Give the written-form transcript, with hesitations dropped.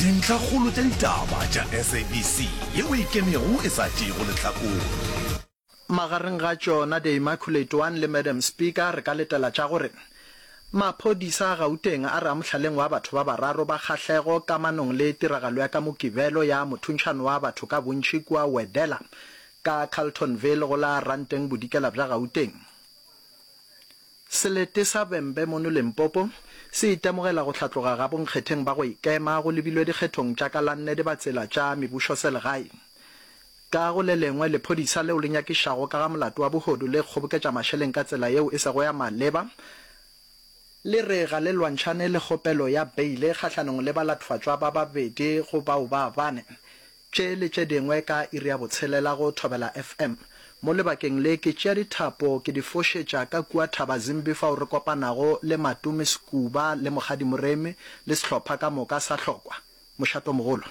Dintlhakgolo tša ditaba tša SABC yeo e ikemego e sa tšeego lehlakore. Magareng ga tšona The Immaculate One le Madam Speaker re ka letela tša gore maphodisa a Gauteng a re a mohlaleng wa batho ba bararo ba kgahlego kamanong le tiragalo ya ka Mokibelo ya mothuntšhano wa batho ka bontši kua Wedela ka Carltonville go la Ranteng Bodikela bja Gauteng. Selete sa Vhembe mono Limpopo se itemogela go hlatloga ga bonkgetheng ba go ikema go lebilwe dikgethong tša ka la nne dibatsela tša mebušoselegae. Ka go le lengwe, lephodisa leo le nyakišago ka ga molato wa bohodu le kgoboketša mašeleng ka tsela yeo e sego ya maleba, le re ga le lwantšhane le kgopelo ya beile kgahlanong le balatfatšwa ba babedi go bao ba bane. Tše le tše dingwe ka iri ya botshelela go Thobela FM. Mo lebakeng le ke tšea dithapo ke di fošetša ka kua Thabazimbi fao re kopanago le Matome Sekuba le Mokgadi Moremi le sehlopha ka moka sa Hlokwa. Mošatomogolo.